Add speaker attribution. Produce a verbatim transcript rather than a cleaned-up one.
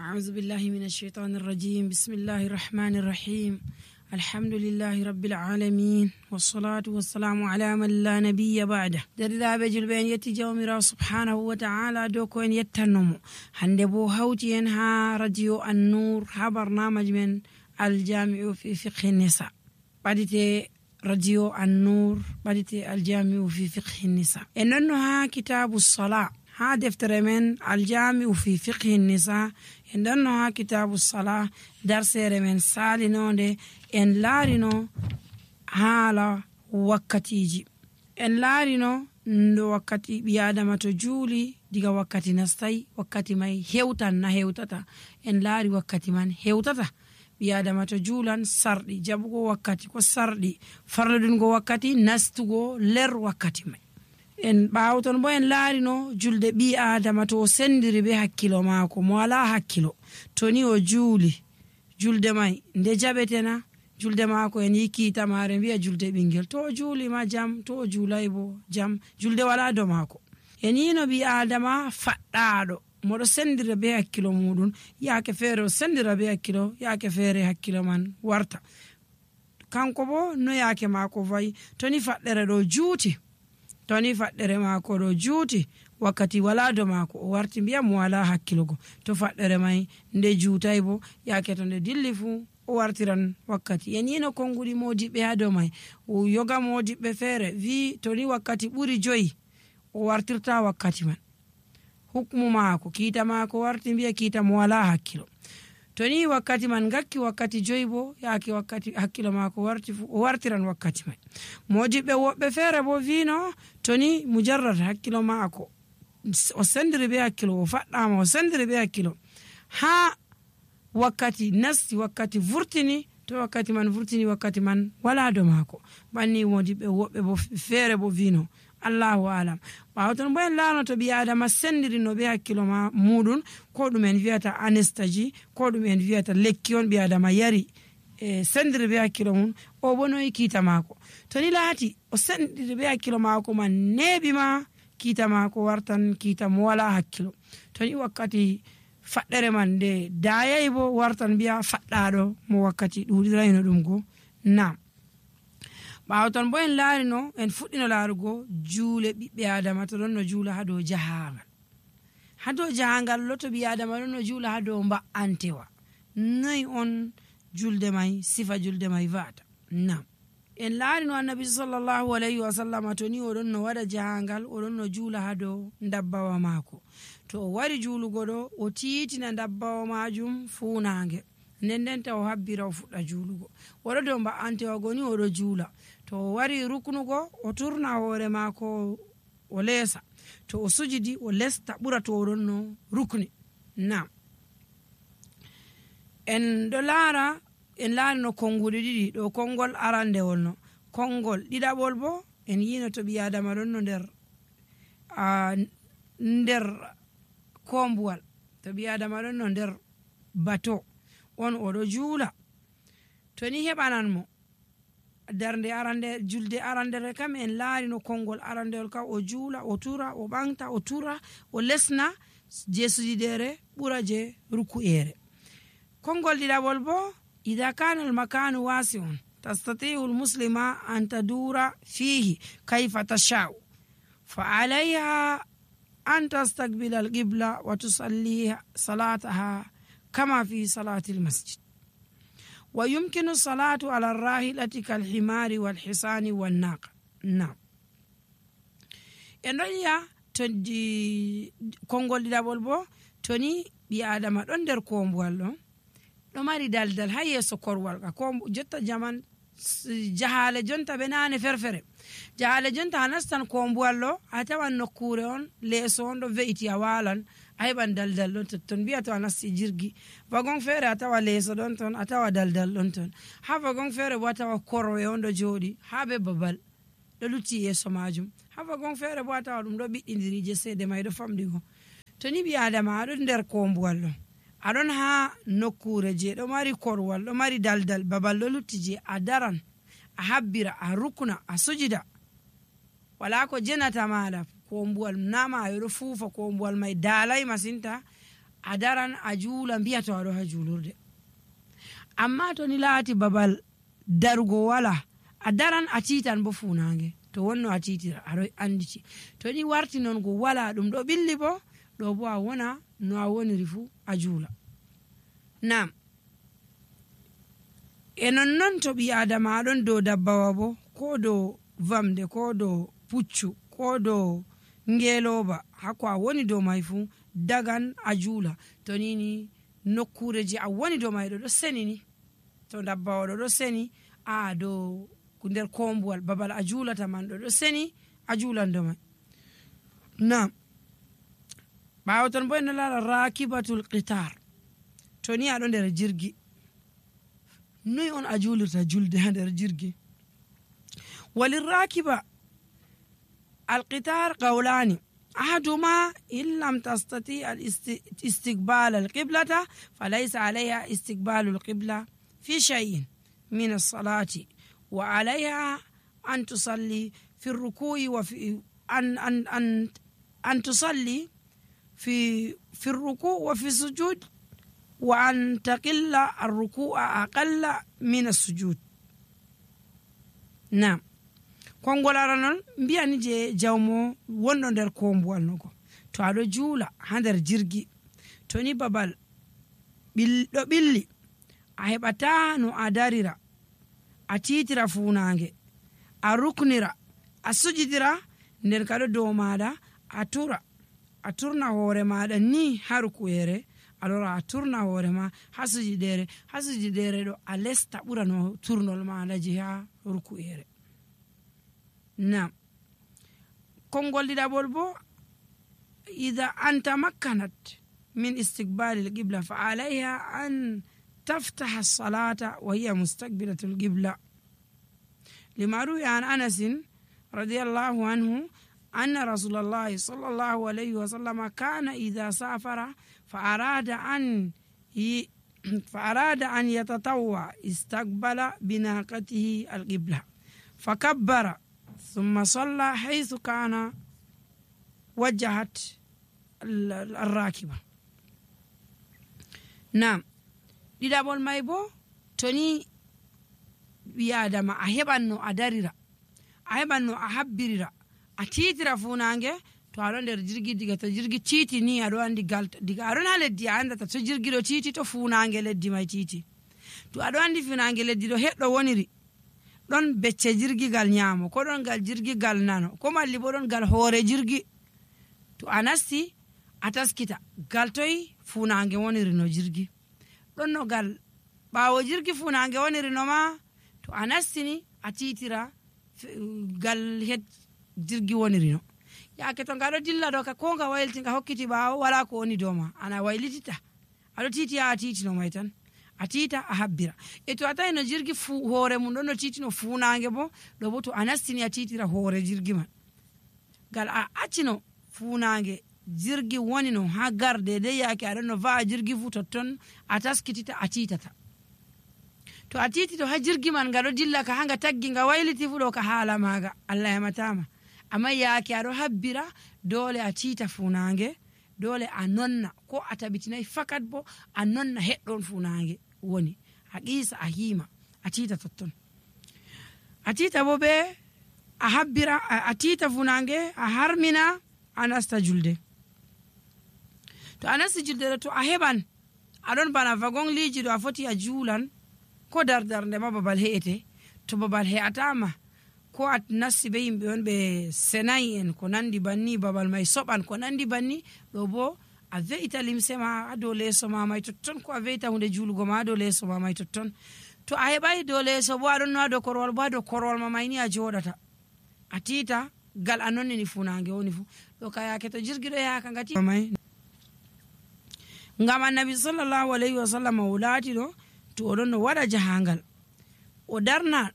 Speaker 1: أعوذ بالله من الشيطان الرجيم. بسم الله الرحمن الرحيم. الحمد لله رب العالمين والصلاة والسلام على من لا نبي بعده. دردا بجل بين يتي جومرا سبحانه وتعالى دوكو ان يتنمو هنده بو هوتي ان ها راديو النور ها برنامج من الجامع في فقه النساء. بديتي راديو النور بديتي الجامع في فقه النساء. اننو ها كتاب الصلاة ها دفتر من الجامع في فقه النساء. إنه ها كتاب الصلاة درس من سالينو دي إن لارينو حالا وقتيجي إن لارينو ndo wakati biadama to juuli diga wakati nastai wakati mai hewtan na hewtata en laari wakati man hewtata biadama to juulan sardi jabugo wakati ko sardi farladungo wakati nastugo ler wakati mai en baawton bo en laarino julde bi adama to sendiri be hakkilo maako mo wala hakkilo toni o juuli julde mai nde jabetena julde maako en yiki tamare biya julde bingel to juuli ma jam to juulay bo jam julde wala do maako en yino bi adama faddaado modo sendira be hakkilo mudun yaake feere sendira be hakkilo yaake feere hakkilo man warta kanko bo no yaake maako vay toni faddere do juuti toni faddere maako do juuti wakati wala do maako o warti biya mo wala hakkilogo to faddere mai nde juutay bo yaake to nde dilli fu o wartiran wakati yenino kongudi modibe hado mai o yoga modibe fere vi toni wakati buri joyi o wartirta wakati man hukmu maako kita maako warti biya kita mo wala hakkilo toni wakati man gakki wakati joybo yaake wakati hakkilo maako warti fu o wartiran wakati mai modibe wobbe fere bo vino toni mujarrad hakkilo maako o sendiri be hakkilo o faddama o sendiri be hakkilo ha wakati nasti wakati vurtini to wakati man vurtini wakati man wala do maako banni modibe wobbe bo fere bo vino Allahu alam bawton boen laano to bi adama sendiri no be hakkilo ma mudun ko dum en viata anesthesie ko dum en viata lekki on bi adama yari e sendiri be hakkilo mun o bono ikita maako to ni laati o sendiri be hakkilo maako man nebi ma kita maako wartan kita mo wala hakkilo to ni wakati faddere man de dayay bo wartan biya faddado mo wakati dudirayno dum go na bawton bo en laarino en fuddino laarugo juule bibbe adama to don no juula hado jahangal hado jahangal loto bi adama don no juula hado mba antewa nay on julde mai sifa julde mai vata na en laarino annabi sallallahu alaihi wasallam to ni odon no wada jahangal odon no juula hado ndabbawa maako to o wari juulugo do o tiitina ndabbawa majum fuunange nendenta o habbira o fudda juulugo woro do mba antewa goni o do juula to wari ruknugo o turna hoore maako o leesa to o sujidi o lesta bura to ronno rukni na en do laara en laarino kongudi didi do kongol arande wonno kongol didabol bo en yino to bi adama ronno der a der kombuwal to bi adama ronno der bato on o do juula to ni hebanan mo darnde arande julde arande kam en laarino kongol arandel ka o juula o tura o bangta o tura o lesna je sujidere bura je ruku'ere kongol didabol bo idha kana al makanu wasi'un tastati'u al muslima an tadura fihi kayfa tasha'u fa 'alayha an tastaqbila al qibla wa tusalli salataha kama fi salati al masjid ويمكن الصلاة على الراحلة كالحمار والحصان والناقة نعم endoya todi kongol didabol bo toni bi adama don der kombuwal don do mari daldal hayeso korwal ka ko jotta jaman jahale jonta benane ferfere jahale jonta nastan kombuwal lo atawan nokkure on leso on do veiti awalan ayban daldal don ton biya to anasti jirgi wagon fere atawa leso don ton atawa daldal don ton ha wagon fere bo atawa korwe on do jodi ha be babal do lutti yeso majum ha wagon fere bo atawa dum do biddindiri je sede may do famdi go to ni bi adama do der kombuwal lo adon ha nokkure je do mari korwal do mari daldal babal do lutti je adaran a habbira a rukuna a sujida wala ko jenata mala kombuwal nama ayro fufa kombuwal mai dalai masinta a daran a juula mbiya to aɗo ha julurde. Amma to ni laati babal darugo wala, a daran a tiitan bo funange, to wonno a tiitira aɗo anditi. To ni warti non go wala ɗum ɗo ɓilli bo, ɗo bo a wona no a woniri fu a juula. Nam e nonnon to ɓi adama aɗon dow dabbawa bo, ko dow vamde, ko dow puccu, ko dow ngeloba, hako a woni dow mai fu dagan a juula. To nini nokkure je a woni dow mai ɗo ɗo seni ni, to dabbawa ɗo ɗo seni, a dow nder kombuwal babal a juulata man ɗo ɗo seni, a juulan dow mai. Nam ɓawo ton bo en lara rakibatul qitar. To ni aɗo nder jirgi, noy on a juulirta julde ha nder jirgi? walirakiba alqitar qawlani ahaduma in lam tastati istiqbal alqiblata falaysa alayha istiqbalu alqibla fi shay'in min as-salati wa alayha an tusalli fi ar-ruku'i wa fi an an an an tusalli fi fi ar-ruku' wa fi sujud wa an taqilla ar-ruku'a aqalla min as-sujud. Naam, kongolara non mbiyani je jawmo wonɗo nder kombuwal nogo, to aɗo juula ha nder jirgi, to ni babal ɗo ɓilli, a heɓata no a darira, a titira funange, a ruknira, a sujidira, nden kaɗo dow maɗa a tura, a turna hoore maɗa ni ha rukuyere, alora a turna hoore ma ha sujidere, ha sujidere ɗo a lesta ɓura no turnol maɗa je ha rukuyere. Nam kongol ɗiɗaɓol bo ida anta makkanat min istiqbali alqibla fa alayha an taftaha as-salata wa hiya mustaqbilatu alqibla lima ruwiya an Anas radiyallahu anhu anna rasulallahi sallallahu alayhi wa sallam kana idha safara fa arada an fa arada an yatatawwa istaqbala binaqatihi alqibla fakabbara ثم صلى حيث كان وجهت الراكبة. نعم ɗiɗaɓol may bo to ni ɓi adama a heɓanno a darira, a heɓanno a habbirira, a titira funange, to aɗo nder jirgi, diga to jirgi titi ni aɗo andi galta, diga aɗon ha leddi a andata to jirgi ɗo titi to funange leddi may titi, to aɗo andi funange leddi ɗo heɗɗo woniri, ɗon becce jirgi gal nyamo, ko ɗon gal jirgi gal nano, ko malli bo ɗon gal hoore jirgi, to a nasti a taskita gal toyi funange woniri no jirgi, ɗon no gal ɓawo jirgi funange woniri no ma, to a nastini a titira gal het jirgi woniri no. Yake to ngaɗo dilla ɗo ka ko nga wayliti nga hokkiti ɓawo wala ko woni dow ma, ana waylitita aɗo titi ha a titi no may tan, a tita a habbira. E to a tawi no jirgi fu hoore mum ɗon no titi no funange bo, ɗo bo to a nastini a titira hoore jirgi man, gal a accino funange jirgi woni no ha garde de yake aɗon no va'a jirgi fu totton a taskitita a titata. To a titi to ha jirgi man nga ɗo dilla ka hanga taggi nga wayliti fu ɗo ka haala maga Allah yamatama, amma yake aɗo habbira dole a tita funange, dole a nonna, ko a tabitinayi fakat bo a nonna heɗɗon funange woni, a qisa a hima a tita totton, a tita bo be a habbira a tita funange a harmina a nasta julde. To a nasti julde to a heɓan aɗon bana wagon liji ɗo a foti a juulan, ko dardarnde ma babal he'ete, to babal he'atama, ko a nasti be yimɓe on ɓe senayi en ko nandi banni, babal may soɓan ko nandi banni, ɗo bo a ve'ita limse ma ha dow leeso ma may totton, ko a ve'ita hunde juulugo ma ha dow leeso ma may totton. To a heɓai dow leeso bo aɗon no ha dow korwal bo ha dow korwal ma may ni a joɗata, a tita gal a nonnini funange woni fu. ɗo ka yake to jirgi ɗo yaka ngati may ngam annabi sallallahu alayhi wa sallam o laati ɗo to oɗon no waɗa jahangal, o darna